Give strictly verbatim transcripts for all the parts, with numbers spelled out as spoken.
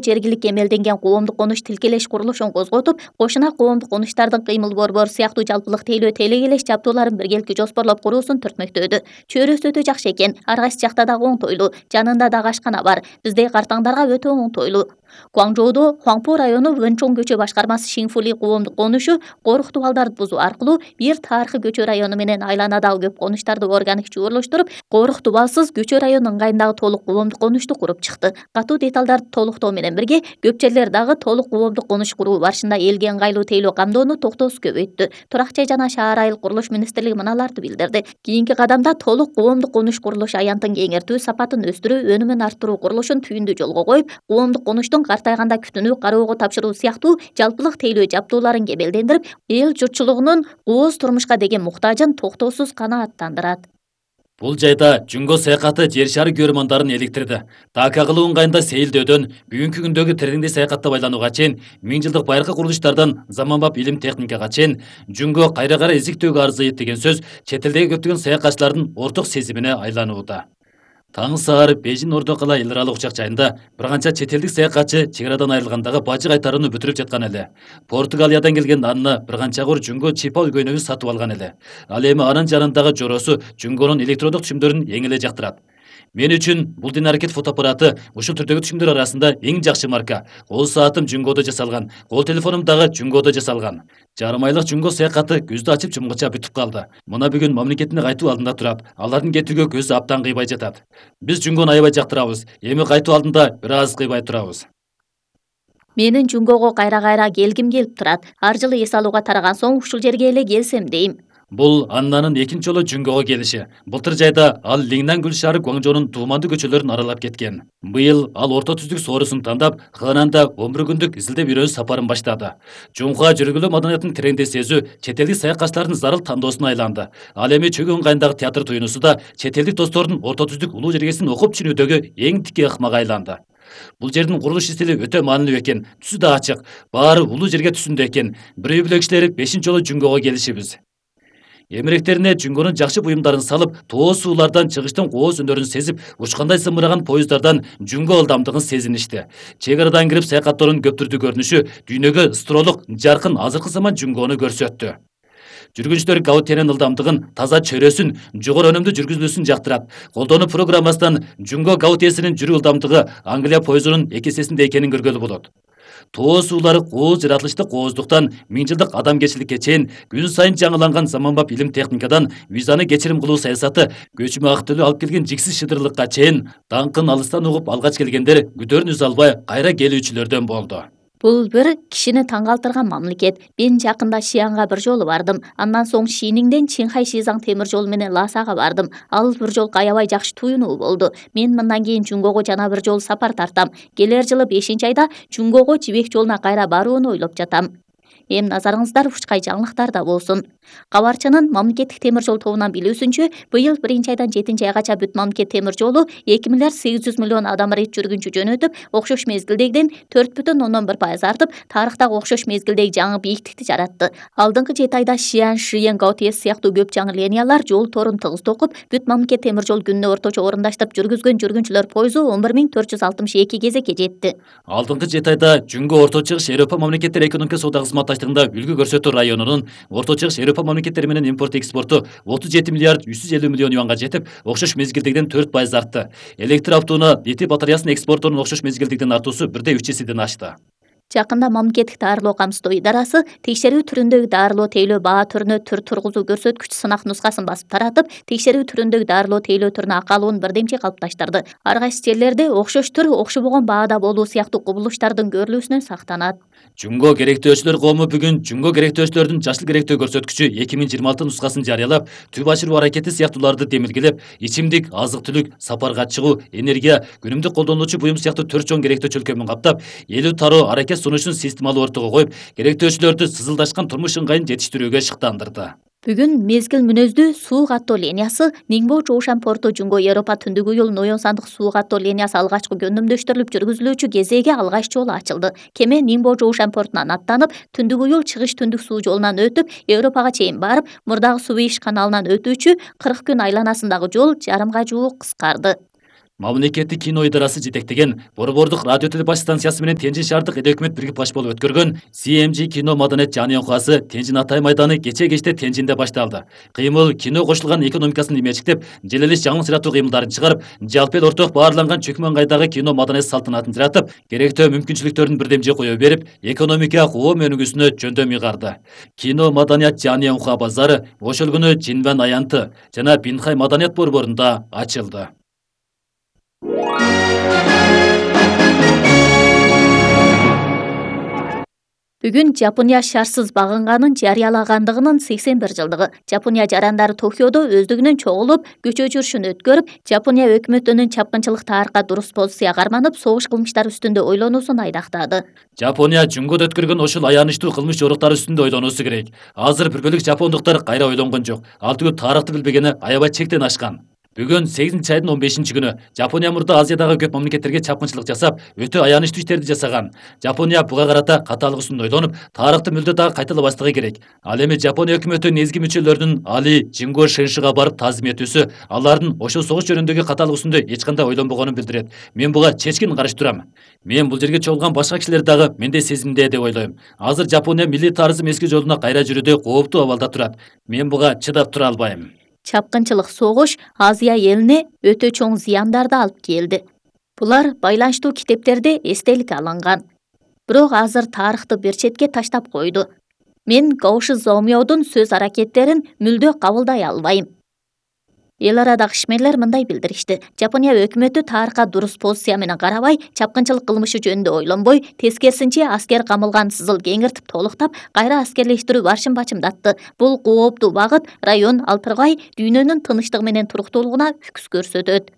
Жергилик эмелденген коомдук конуш тилкелеш курулушун козготуп, кошуна коомдук конуштардын кыймыл борбору сыяктуу жалпылык тейлөө телекелеш жабдууларын биргеликти жоспорлоп куруусун түртмөктөдү. Чөйрөсү өтө жакшы экен, ар кайсы жакта дагы оңтойлуу, жанында дагы ашкана бар. Биздей картаңдарга өтө оңтойлуу. Гуаңжоудо Хуаңпу району Вэнчоң көчө башкармасы Шинфули коомдук конушу коруктуу балдарды бузуу аркылуу бир тарыхый көчө району менен айланадагы көп конуштарды органик чуурулуштуруп, коруктуу балсыз көчө району ыңгайындагы толук коомдук конушту куруп чыкты. Катуу деталдарды толуктоо менен бирге көп жерлер дагы толук коомдук конуш куруу барышында элге ыңгайлуу тейлөө камдоону токтоосуз көбөйттү. Турак жай жана шаар айыл курулуш министрлиги мыналарды билдирди. Кийинки кадамда толук коомдук конуш курулуш аянтын кеңертүү, сапатын өстүрүү, өнүмүн арттыруу курулушун түйүндүү жолго коюп, коомдук конуштун картайганда күтүнүү, кароого тапшыруу сыяктуу жалпылык тейлөө жабдууларын кемелдендирип, эл журтчулугунун кооз турмушка деген муктажын токтоосуз канааттандырат. Бул жайда Жүнгө саякаты жер шары көрөрмандарын эликтирди. Така кылуу ыңгайында сейилдөөдөн бүгүнкү күндөгү тереңдей саякатта байланууга чейин, миң жылдык байыркы курулуштардан заманбап илим техникага чейин Жүнгө кайра-кайра эзиктөөгө арзыйт деген сөз чет элдеги көптөгөн саякатчылардын орток сезимине айланууда. Таң саар Бейжин Ордо кала эл аралык учак жайында бир канча чет элдик саякатчы чек арадан айрылгандагы бажы кайтарууну бүтүрүп жаткан эле. Португалиядан келген Анна бир канча кур Жүнгө чипа көйнөгүн сатып алган эле. Ал эми анын жанындагы жоросу Жүнгөнүн электрондук түшүмдөрүн эң эле жактырат. Мен үчүн бул дин аракет фотоаппараты ушул түрдөгү түшүмдөр арасында эң жакшы марка. Кол саатым Жүнгөдө жасалган, кол телефонум дагы Жүнгөдө жасалган. Жарым айлык Жүнгө саякаты көздү ачып жумгуча бүтүп калды. Мына бүгүн мамлекеттин кайтуу алдында турат. Алардын кетүүгө көзү аптан кыйбай жатат. Биз Жүнгөнү аябай жактырабыз. Эми кайтуу алдында бир аз кыйбай турабыз. Менин Жүнгөгө кайра-кайра келгим келип турат. Ар жылы эс алууга тараган соң ушул жерге эле келсем дейм. Бул Аннанын экинчи жолу Жүнгөгө келиши. Былтыр жайда ал Лиңнан Гүл шаары Гуаңжоонун туумандуу көчөлөрүн аралап кеткен. Быйыл ал орто түздүк соорусун тандап, Хананда он бир күндүк изилдеп үйрөнүү сапарын баштады. Жумга жүргүлөө маданиятын тереңдей сезүү чет элдик саякатчылардын зарыл тандоосуна айланды. Ал эми Чөгөн ыңгайындагы театр туюнусу да чет элдик достордун орто түздүк улуу жергесин окуп түшүнүүдөгү эң тикке ыкмага айланды. Бул жердин курулуш стили өтө маанилүү экен, түсү да ачык, баары улуу жерге түсүндө экен. Бирөө биле кишилер бешинчи жолу Жүнгөгө келишибиз. Эмеректерине Жүнгөнүн жакшы буюмдарын салып, тоо суулардан чыгыштын кооз өндөрүн сезип, учкандай зымыраган поезддардан Жүнгө ылдамдыгын сезиништи. Чек арадан кирип саякаттоонун көптүрдүү көрүнүшү дүйнөгө ыстролук, жаркын азыркы заман Жүнгөнү көрсөттү. Жүргүнчүлөр Гаутиянын ылдамдыгын, таза чөйрөсүн, жогору өнүмдүү жүргүзүлүүсүн жактырат. Колдонуу программасынан Жүнгө Гаутиясынын жүрүү ылдамдыгы Англия поездунун эки эсесинде экенин көргөлү болот. Тоо суулары кооз жаратылышты кооздуктан миң жылдык адамгерчиликке чейин күн сайын жаңыланган заманбап илим техникадан визаны кечирим кылуу саясаты, көчмө ак төлөө алып келген жиксиз шыдырлыкка чейин даңкын алыстан угуп алгач келгендер күдөрүн үзө албай кайра келүүчүлөрдөн болду. Бул бир кишини таң калтырган мамлекет. Мен жакында Шиянга бир жолу бардым. Андан соң Шиниңден Чинхай Шизаң темир жолу менен Ласага бардым. Ал бир жол аябай жакшы туюнуу болду. Мен мындан кийин Жүнгөгө жана бир жолу сапар тартам. Келер жылы бешинчи айда Жүнгөгө Жибек жолуна кайра барууну ойлоп жатам. Эми назарыңыздар учкай жаңылыктарда болсун. Кабарчынын мамлекеттик темир жол тобунан билүүсүнчө, быйыл биринчи айдан жетинчи айгача бүт мамлекет темир жолу эки миллиард сегиз жүз миллион адам рейс жүргүнчү жөнөтүп, окшош мезгилдегиден төрт бүтүн ондон бир пайыз артып, тарыхтагы окшош мезгилдеги жаңы бийиктикти жаратты. Алдыңкы жети айда Шиан, Шиен, Гаутиес сыяктуу көп жаңы линиялар жол торун тыгыз токуп, бүт мамлекет темир жол күнүнө орточо орундаштырып жүргүзгөн жүргүнчүлөр пойузу он бир миң төрт жүз алтымыш эки кезекке жетти. Алдыңкы жети айда Жүнгө орто чыгыш Европа мамлекеттери экономика соода кызматташтыгында үлгү көрсөтүү районунун орто чыгыш Европа мамлекеттери менен импорт экспорту отуз жети миллиард үч жүз элүү миллион юанга жетип, окшош мезгилдегиден төрт пайыз артты. Электр автоунаа литий батареясынын экспортунун окшош мезгилдегиден артуусу бирде үч эседен ашты. Жакында мамлекеттик дарылоо камсыздоо идарасы текшерүү түрүндөгү дарылоо тейлөө баа түрүнө түр тургузуу көрсөткүч сынак нускасын басып таратып, текшерүү түрүндөгү дарылоо тейлөө түрүнө акалуун бирдемчи калыпташтырды. Ар кайсы жерлерде окшош түр окшобогон баада болуу сыяктуу кубулуштардын көрүлүүсүнөн сактанат. Жүнгө керектөөчүлөр коому бүгүн Жүнгө керектөөчүлөрдүн жашыл керектөө көрсөткүчү эки миң жыйырма алты нускасын жарыялап, түп ашыруу аракети сыяктууларды демилгелеп, ичимдик, азык-түлүк, сапарга чыгуу, энергия, күнүмдүк колдонулуучу буюм сыяктуу төрт чоң керектөө чөлкөмүн каптап, элүү тароо аракет сунушун системалуу ортого коюп, керектөөчүлөрдү сызылдашкан турмуш ыңгайын жетиштирүүгө шыктандырды. Бүгүн мезгил мүнөздүү суу каттоо линиясы Ниңбо Жоушан порту Жүнгө Европа түндүк уюл Ноён сандык суу каттоо линиясы алгачкы жөндөмдөштүрүлүп жүргүзүлүүчү кезеге алгач жолу ачылды. Кеме Ниңбо Жоушан портунан аттанып, түндүк уюл чыгыш түндүк суу жолунан өтүп, Европага чейин барып, мурдагы Сувейш каналынан өтүүчү кырк күн айланасындагы жол жарымга жуук кыскарды. Мамлекеттик кино идарасы жетектеген Борбордук радио телебаш станциясы менен Тенжин шаардык эд өкмөт бирге баш болуп өткөргөн си эм джи кино маданият жаныйкасы Тенжин Атай майданы кече кечте Тенжинде башталды. Кыймыл кино кошулган экономикасын имечиктеп, желелиш жаңы сыратуу кыймылдарын чыгарып, жалпы эл орток баарланган чөкмөн кайдагы кино маданият салтанатын жаратып, керектөө мүмкүнчүлүктөрүн бирдемже кое берип, экономика коом өнүгүүсүнө жөндөм ыйгарды. Кино маданият жаныйка базары ошол күнү Жинван аянты жана Бинхай маданият борборунда ачылды. Бүгүн Жапония шарсыз багынганын жарыялагандыгынын сексен бир жылдыгы. Жапония жарандары Токиодо өздүгүнөн чогулуп, көчө жүрүшүн өткөрүп, Жапония өкмөтүнүн чапкынчылыкта арка дурус позиция карманып, согуш кылмыштары үстүндө ойлонуусун айдактады. Жапония жөнгөдө өткөргөн ошол аянычтуу кылмыш жоруктары үстүндө ойлонуусу керек. Азыр бир бөлүк жапондуктар кайра ойлонгон жок. Ал түгүл тарыхты билбегени аябай чектен ашкан. Бүгүн сегизинчи айдын он бешинчи күнү Жапония мурда Азиядагы көп мамлекеттерге чапкынчылык жасап, өтө аянычтуу иштерди жасаган. Жапония буга карата катаалык үстүндө ойлонуп, тарыхты мүлдө дагы кайталабастыгы керек. Ал эми Жапония өкмөтү негизги мүчөлөрүнүн Али Жинго Шеншига барып таазим этүүсү алардын ошол согуш жөнүндөгү катаалык үстүндө эч кандай ойлонбогонун билдирет. Мен буга чечкин каршы турам. Мен бул жерге чогулган башка кишилер дагы мендей сезимде деп ойлойм. Азыр Жапония милли тарызым эски жолуна кайра жүрүүдө кооптуу абалда турат. Мен буга чыдап тура албайм. Чапкынчылык согуш Азия элине өтө чоң зыяндарды алып келди. Булар байланыштуу китептерде эстелик алынган. Бирок азыр тарыхты бир четке таштап койду. Мен Гоуши Зомиодун сөз аракеттерин мүлдө кабылдай албайм. Эл арадагы ишмерлер мындай билдиришти. Жапония өкмөтү тарыхка дурус позиция менен карабай, чапкынчылык кылмышы жөнүндө ойлонбой, тескерисинче аскер камылган сызыл кеңиртип толуктап, кайра аскерлештирүү башын бачымдатты. Бул кооптуу багыт район алтыргай дүйнөнүн тынычтыгы менен туруктуулугуна үкүс көрсөтөт.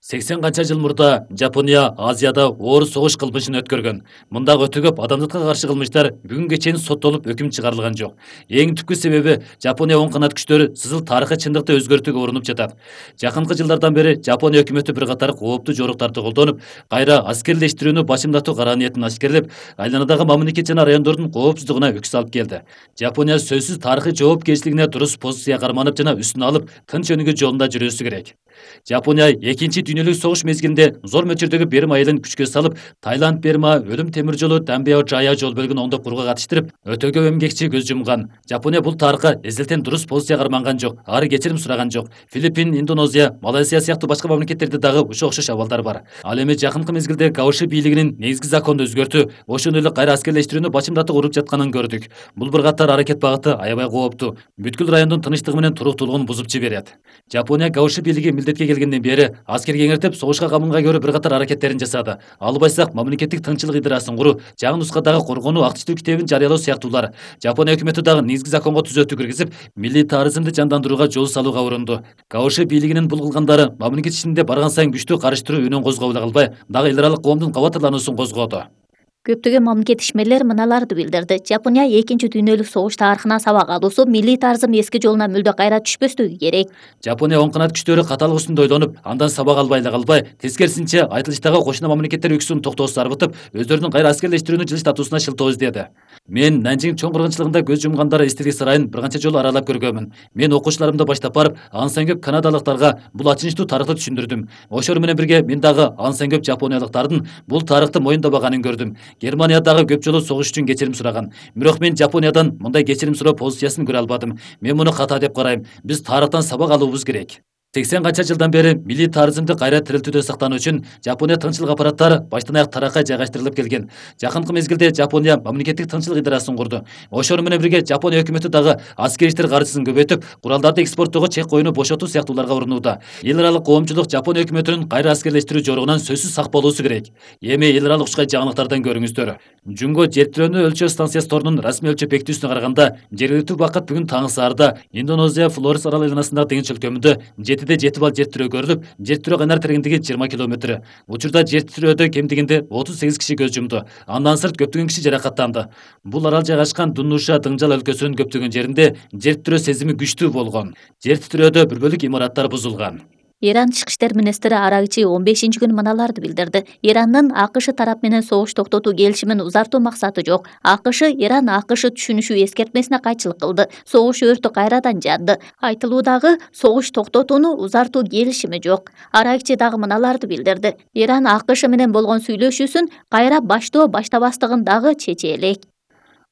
сексен канча жыл мурда Жапония Азияда оор согуш кылмышын өткөргөн. Мындагы өтө көп адамзатка каршы кылмыштар бүгүнгө чейин соттолуп өкүм чыгарылган жок. Эң түпкү себеби Жапония оң канат күчтөрү сызыл тарыхый чындыкты өзгөртүүгө урунуп жатат. Жакынкы жылдардан бери Жапония өкмөтү бир катар кооптуу жоруктарды колдонуп, кайра аскерлештирүүнү башымдатуу кара ниетин ашкерлеп, айланадагы мамлекет жана райондордун коопсуздугуна үкүс алып келди. Жапония сөзсүз тарыхый жоопкерчилигине дурус позиция карманып жана үстүн алып, тынч өнүгүү жолунда жүрүүсү керек. Жапония экинчи дүйнөлүк согуш мезгилинде зор мөлчөрдөгү Берма айылын күчкө салып, Таиланд Берма өлүм темир жолу Дамбео Жая жол бөлүгүн оңдоп курууга катыштырып, өтө көп эмгекчи көз жумган. Жапония бул тарыхка эзелтен дурус позиция карманган жок, ары кечирим сураган жок. Филиппин, Индонезия, Малайзия сыяктуу башка мамлекеттерде дагы ушул окшош абалдар бар. Ал эми жакынкы мезгилде Гоуши бийлигинин негизги законду өзгөртүү, ошондой эле кайра аскерлештирүүнү башымдатуу уруп жатканын көрдүк. Бул бир катар аракет багыты аябай кооптуу. Бүткүл райондун тынычтыгы менен туруктуулугун бузуп жиберет. Жапония Гоуши бийлиги милдетке келгенден бери аскер кеңиртип, согушка камынга көрүп бир катар аракеттерин жасады. Албайсак мамлекеттик тынччылык идарасын куруу, жаңы нускадагы коргонуу активдүү китебин жарыялоо сыяктуулар. Жапония өкмөтү дагы негизги законго түзөтүү киргизип, милли тарызымды жандандырууга жол салууга урунду. Гоуши бийлигинин бул кылгандары мамлекет ичинде барган сайын күчтүү карыштыруу үнүн козгоп эле калбай, дагы эл аралык коомдун кабатталуусун козгоду. Көптөгөн мамлекет ишмерлер мыналарды билдирди. Жапония экинчи дүйнөлүк согуш тарыхынан сабак алуусу, милли тарызым эски жолуна мүлдө кайра түшпөстүгү керек. Жапония оң канат күчтөрү катаалык үстүндө ойлонуп, андан сабак албай эле калбай, тескерисинче айтылыштагы кошуна мамлекеттер үксүн токтоосун арбытып, өздөрүнүн кайра аскерлештирүүнү жылыштатуусуна шылтоо издеди. Мен Нанжин чоң кыргынчылыгында көз жумгандар эстелик сарайын бир канча жолу аралап көргөнмүн. Мен окуучуларымды баштап барып, ансан көп канадалыктарга бул ачынычтуу тарыхты түшүндүрдүм. Ошол менен бирге мен дагы ансан көп жапониялыктардын бул тарыхты моюндабаганын көрдүм. Германиядагы көп жолу согуш үчүн кечирим сураган. Бирок мен Жапониядан мындай кечирим суроо позициясын көрө албадым. Мен муну ката деп карайм. Биз тарыхтан сабак алуубуз керек. сексен канча жылдан бери милли тарызымды кайра тирилтүүдө сактануу үчүн Жапония тынччылык аппараттары баштан аяк таракай жайгаштырылып келген. Жакынкы мезгилде Жапония мамлекеттик тынччылык идарасын курду. Ошол менен бирге Жапония өкмөтү дагы аскер иштер каржысын көбөйтүп, куралдарды экспорттоого чек коюуну бошотуу сыяктууларга урунууда. Эл аралык коомчулук Жапония өкмөтүнүн кайра аскерлештирүү жоругунан сөзсүз сак болуусу керек. Эми эл аралык ушкай жаңылыктардан көрүңүздөр. Жунго жер тирөөнү өлчөө станциясы торунун расмий өлчөп бекитүүсүнө караганда, жергиликтүү убакыт бүгүн таңы саарда Индонезия Флорес арал айланасындагы деңиз чөлкөмүндө жетиде жети балл жер тирөө көрүлүп, жер тирөө кайнар тереңдиги жыйырма километр. Учурда жер тирөөдө кем дегенде отуз сегиз киши көз жумду. Андан сырт көптөгөн киши жаракаттанды. Бул арал жайгашкан Дуннуша Дыңжал өлкөсүнүн көптөгөн жеринде жер тирөө сезими күчтүү болгон. Жер тирөөдө бир бөлүк имараттар бузулган. Иран тышкы иштер министри Арагчи он бешинчи күнү мыналарды билдирди. Ирандын АКШ тарап менен согуш токтотуу келишимин узартуу максаты жок. АКШ Иран АКШ түшүнүшүү эскертмесине кайчылык кылды. Согуш өртү кайрадан жанды. Айтылуудагы согуш токтотууну узартуу келишими жок. Арагчи дагы мыналарды билдирди. Иран АКШ менен болгон сүйлөшүүсүн кайра баштоо баштабастыгын дагы чече элек.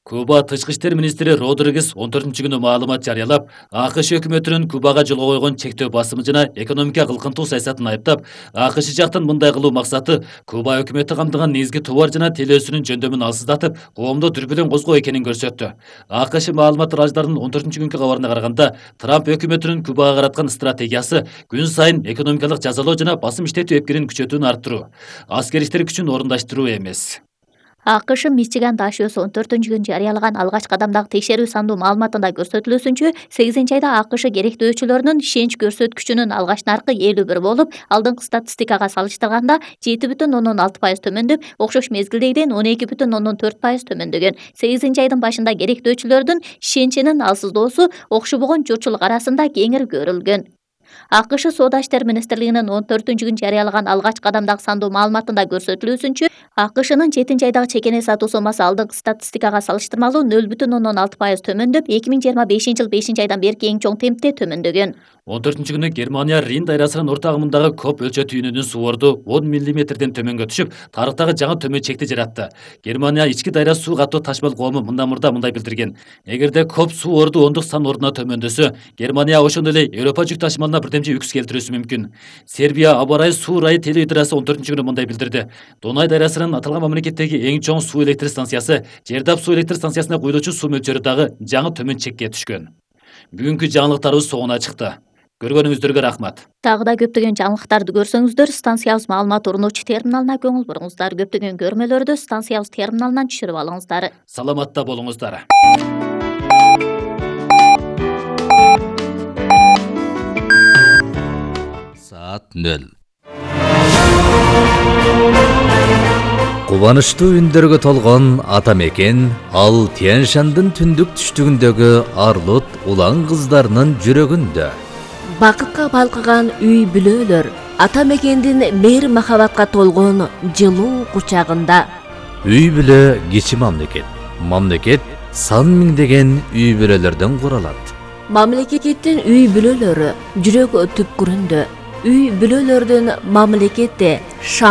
Куба тышкы иштер министри Родригес он төртүнчү күнү маалымат жарыялап, АКШ өкмөтүнүн Кубага жолго койгон чектөө басымы жана экономика кылкынтуу саясатын айыптап, АКШ жактын мындай кылуу максаты Куба өкмөтү камтыган негизги товар жана телөөсүнүн жөндөмүн алсыздатып, коомдо дүрбүлөң козгоо экенин көрсөттү. АКШ маалымат ыраждарынын он төртүнчү күнкү кабарына караганда, Трамп өкмөтүнүн Кубага караткан стратегиясы күн сайын экономикалык жазалоо жана басым иштетүү эпкирин күчөтүүнү арттыруу, аскер иштер күчүн орундаштыруу эмес. АКШ Мичиган дашөөсү он төртүнчү күнү жарыялаган алгач кадамдагы текшерүү сандуу маалыматында көрсөтүлүүсүнчө, сегизинчи айда АКШ керектөөчүлөрүнүн ишенич көрсөткүчүнүн алгач наркы элүү бир болуп, алдыңкы статистикага салыштырганда жети бүтүн ондон алты пайыз төмөндөп, окшош мезгилдегиден он эки бүтүн ондон төрт пайыз төмөндөгөн. сегизинчи айдын башында керектөөчүлөрдүн ишеничинин алсыздоосу окшобогон журтчулук арасында кеңири көрүлгөн. АКШ Соода иштер министрлигинин он төртүнчү күнү жарыялаган алгач кадамдагы сандуу маалыматында көрсөтүлүүсүнчө, АКШнын жетинчи айдагы чекене сатуу сомасы алдыңкы статистикага салыштырмалуу нөл бүтүн ондон алты пайыз төмөндөп, эки миң жыйырма бешинчи жыл бешинчи айдан берки эң чоң темпте төмөндөгөн. он төртүнчү күнү Германия Рин дайрасынын орто агымындагы коп өлчө түйүнүнүн суу орду он миллиметрден төмөнгө түшүп, тарыхтагы жаңы төмөн чекти жаратты. Германия ички дайра суу каттоо ташмал коому мындан мурда мындай билдирген: эгерде коп суу орду ондук сан ордуна төмөндөсө, Германия ошондой эле Европа жүк ташымалына бирдемчи үкс келтирүүсү мүмкүн. Сербия аба ырайы суу ырайы телеидарасы он төртүнчү күнү мындай билдирди: Дунай дайрасынын аталган мамлекеттеги эң чоң суу электр станциясы, Жердап суу электр станциясына куюлуучу суу мөлчөрү дагы жаңы төмөн чекке түшкөн. Бүгүнкү жаңылыктарыбыз соңуна чыкты. Көргөнүңүздөргө рахмат. Дагы да көптөгөн жаңылыктарды көрсөңүздөр, станциябыз маалымат орунуучу терминалына көңүл буруңуздар. Көптөгөн көрмөлөрдү станциябыз терминалынан түшүрүп алыңыздар. Саламатта болуңуздар. Саат нөл. Кубанычтуу үндөргө толгон ата мекен ал Тянь-Шандын түндүк түштүгүндөгү Арлут улан кыздарынын жүрөгүндө. Бакытка балкыган үй бүлөлөр ата мекендин мээр махабатка толгон жылуу кучагында. Үй бүлө кичи мамлекет. Мамлекет сан миңдеген үй бүлөлөрдөн куралат. Мамлекеттин үй бүлөлөрү жүрөк түпкүрүндө. Үй бүлөлөрдүн мамлекетте шаң